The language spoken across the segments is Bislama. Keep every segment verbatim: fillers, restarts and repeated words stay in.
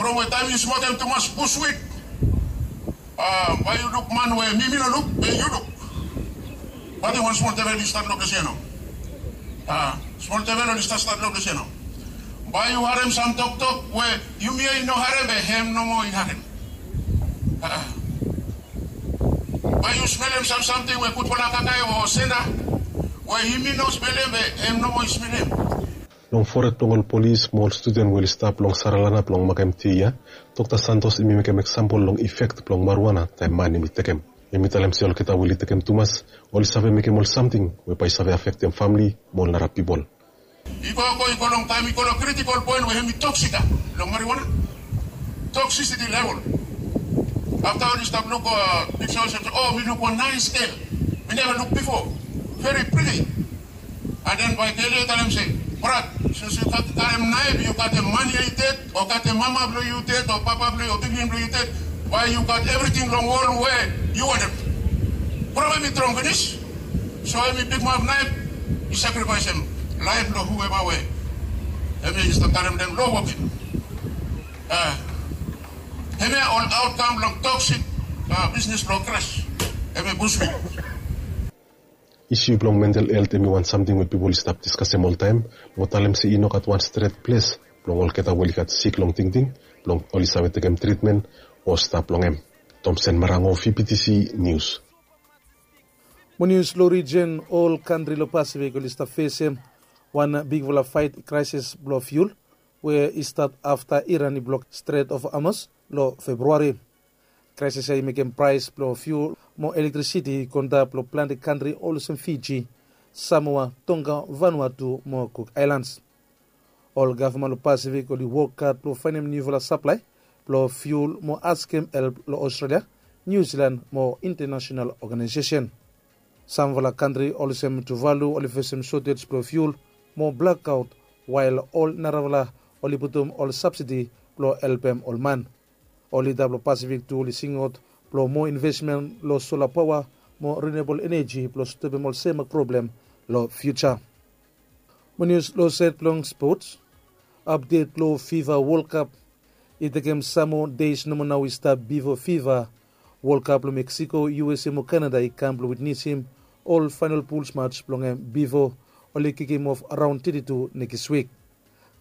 From we taem yu smokem tumas bushwit, bae yu luk man we mi mi no luk, be yu luk. Bat i wan smol devel i stap long ples ya nao. Smol devel oli stap stap long ples ya nao. Bae yu harem sam toktok we yumi ya i no harem, be hem nomo i harem. Bae yu smelem sam samting we gudfala kakae o senda, we yumi no smelem, be hem nomo i smelem. Long fored blong ol polis mo ol studen we oli stap long Saralanap blong makem ti ya, Dokta Santos hemi mekem eksampol long ifek blong marijuana taem man hemi tekem. Hemi talem se olgeta we oli tekem tumas oli save mekem ol samting we bae i save afektem famle mo ol nara pipol. I go go i go long taem i go long kritikol poen we hemi toksik long marijuana. Toksisiti level. Afta oli stap luk piksa olsem, o, mi luk wan naes gel mi neva luk bifo. Veri priti. An den bae gel ya i talem se, brat, since yu gat karem naef yu katem man ya i ded, o katem mama blong yu ded, o papa blong yu, o pikinini blong yu ded, bae yu gat evriting long wol we yu wantem. Problem i strong finis. So hemi pikimap naef, i sakrifaesem laef blong hueva we hemi stap karem den long wokem. Hemia ol aotkam blong toksik bisnis blong gras. Hemi bushwit. Isu blong mental helt hemi wan samting we pipol i stap diskasem oltaem, mo talem se i no gat wan stret ples blong olgeta we oli gat sik long tingting blong oli save tekem tritmen o stap long hem. Tomsen Marango, V P T C Nius. Mo nius long rijen, ol kantri long Pasifik oli stap fesem wan bigfala faet, kraesis blong fiul we i stat afta Iran i blok Strait of Hormuz long Februari. Kraesis ya i mekem praes blong fiul mo elektrisiti i go antap long plante kantri olsem Fiji, Samoa, Tonga, Vanuatu mo Cook Islands. Ol gavman long Pasifik oli wok had blong faenem niufala saplae blong fiul mo askem help long Australia, Niu Silan mo intanasonal oganaesesen. Samfala kantri olsem Tuvalu oli fesem sotej blong fiul mo blakaot, wael ol narafala oli putum ol sabsidi blong helpem ol man. Ol lida blong Pasifik tu oli singaot blong moa invesmen long sola paoa mo rinuabol eneji blong stopem ol sem problem long fiuja. Mo nius long saed blong spots. Apdet blong Fifa Wol Kap. I tekem sam moa deis nomo nao i stap bifo Fifa Wol Kap long Meksiko, U S A mo Kanada i kam blong witnesem ol faenol puls mats blong hem bifo oli kikim of raon teti tu nekis wik.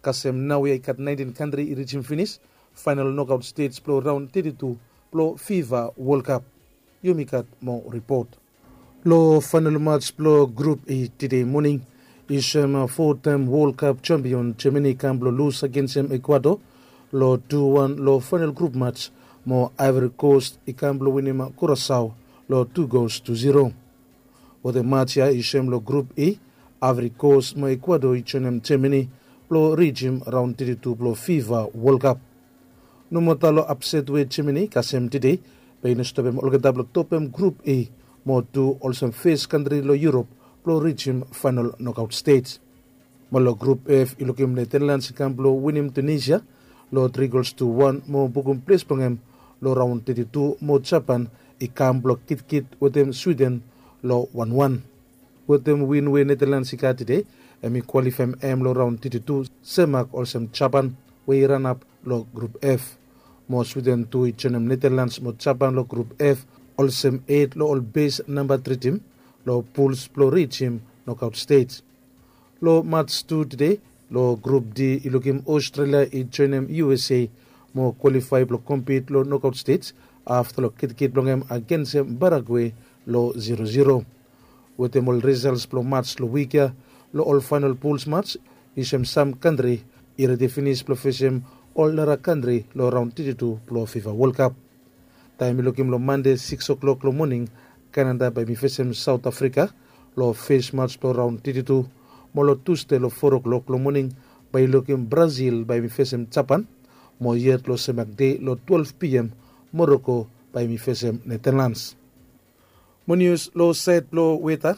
Kasem naoia i gat naentin kantri i rijim finis faenol nokaot stej blong raon teti tu blong Fifa Wol Kap. Yumi gat moa ripot. Long faenol mats blong Grup E tede moning, i soem fotaem Wol Kap jampion Jamani i kam blong lus agensem Ekuador long tu wan long faenol grup mats, mo Aevori Kos i kam blong winim Kurasao long tu gols tu ziro. Wetem mats ya i soem long Grup E, Aevori Kos mo Ekuador i joenem Jamani blong rijim raon teti tu blong Fifa Wol Kap. Nomata long apset we Jamani i kasem tede, be i no stopem olgeta blong topem Grup E mo tu olsem fes kantri long Yurop blong rijim faenol nokaot stej. Mo long Grup F i lukim Netanlands i kam blong winim Tunisia long tri gols tu wan mo bukum ples blong hem long raon teti tu, mo Japan i kam blong kitkit wetem Swiden long wan wan. Wetem win we Netanlands i gat tede, hem i kwalifaem hem long raon teti tu semak olsem Japan we i ranap long Grup F. Mo Swiden tu i joenem Netanlands mo Japan long Grup F olsem et long ol bes namba tri tim long puls blong rijim nokaot stej. Long mats tu tede, long Grup D i lukim Australia i joenem U S A mo kwalifae blong kompit long nokaot stej afta long kitkit blong hem agensem Paraguay long ziro ziro. Wetem ol risals blong mats long wik ya, long ol faenol puls mats i soem sam kantri i redi finis blong fesem ol nara kantri long raon teti tu blong Fifa Wol Kap. Taem i lukim long Mande sikis oklok long moning, Kanada bae hem i fesem Saot Afrika long fes mats blong raon teti tu, mo long Tusde long fo oklok long moning bae i lukim Brasil bae hem i fesem Japan, mo yet long semak dei long twelef P M Moroko bae hem i fesem Netanlands. Mo nius long saed blong weta.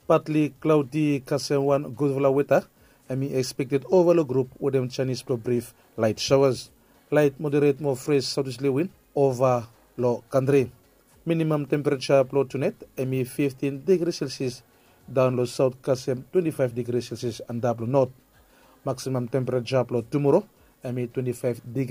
Patli klaodi kasem wan gudfala weta hem i ekspekted ova long Grup wetem janis blong brif laet saoas. Laet moderet mo fres saotesli win ova long kantri. Minimam tempereja blong tunaet hem i fiftin digri Celsius daon long saot kasem twenti faef digri Celsius antap long not. Maksimam tempereja blong tumoro hem i twenti faef digri